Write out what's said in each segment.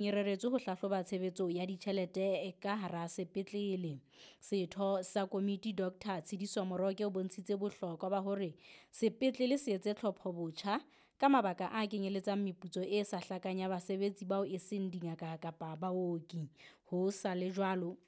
E reretswe ho hlahloba tshebetso ya ditjhelete ka hara sepetlele. Setho sa komiti Dr Tshidiso Moroke o bontshitse bohlokwa ba hore sepetlele se etse tlhophobotjha ka mabaka a kenyeletsang meputso e sa hlakang ya basebetsi bao e seng dingaka kapa baoki. Ho sa le jwalo,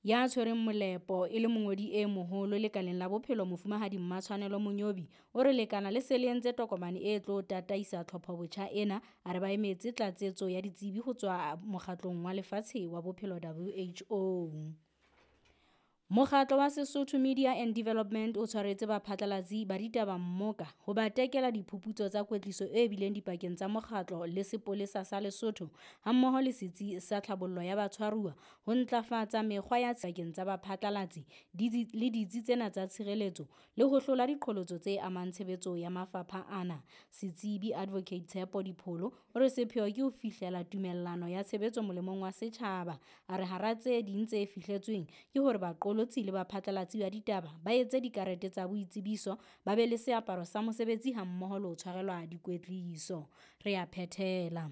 ya tshwereng molepo e le mongodi e moholo lekaleng la bophelo Mofumahadi Mmatshwanelo Monyobi o re lekala le se le entse tokomane e tlo tataisa tlhophobotjha ena. A re ba emetse tlatsetso ya ditsebi ho tswa mokgatlong wa lefatshe wa bophelo WHO. Mokgatlo wa Sesotho Media and Development o tshwaretse baphatlalatsi ba ditaba mmoka ho ba tekela diphuputso tsa kwetliso e bileng dipakeng tsa mokgatlo le sepolesa sa Lesotho hammoho le setsi sa tlhabollo ya batshwaruwa ho ntlafatsa mekgwa ya pakeng tsa baphatlalatsi le ditsi tsena tsa tshireletso le ho hlola diqholotso tse amang tshebetso ya mafapha ana. Setsebi Advocate Tshepo Dipholo o re sepheo ke ho fihlela tumellano ya tshebetso molemong wa setjhaba. A re hara tse ding tse fihletsweng ke hore baqolotsi le baphatlalatsi ba ditaba ba etse dikarete tsa boitsebiso, ba be le seaparo sa mosebetsi hammoho le ho tshwarelwa dikwetliso. Re a phethela.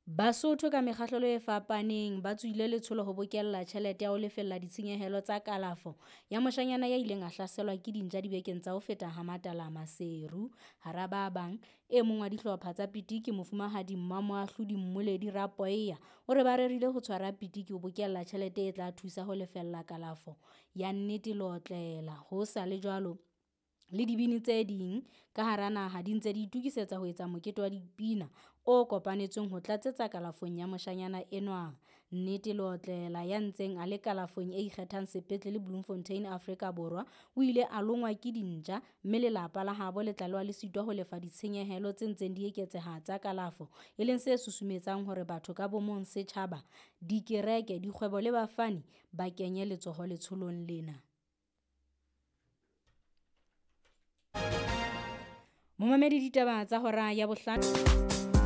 Basotho ka mekgahlelo e fapaneng ba tswile letsholo ho bokella tjhelete ya ho lefella ditshenyehelo tsa kalafo ya moshanyana ya ileng a hlaselwa ke dintja dibekeng tsa ho feta ha Matala Maseru. Hara ba bang, e mong wa dihlopha tsa pitiki Mofumahadi Mmamoahlodi Mmoledi Rapoeya o re ba rerile ho tshwara pitiki ho bokella tjhelete e tla thusa ho lefella kalafo ya Nnete Leotlela. Ho sa le jwalo, le dibini tse ding ka hara naha di ntse di itokisetsa ho etsa mokete wa dipina o kopanetsweng ho tlatsetsa kalafong ya moshanyana enwa. Nnete Leotlela ya ntseng a le kalafong e ikgethang sepetlele Bloemfontein, Afrika Borwa, o ile a longwa ke dintja mme lelapa la habo le tlalewa le sitwa ho lefa ditshenyehelo tse ntseng di eketseha tsa kalafo, e leng se susumetsang hore batho ka bomong, setjhaba, dikereke, dikgwebo le bafani ba kenye letsoho letsholong lena. Momamedi ditaba tsa hora ya bohlano.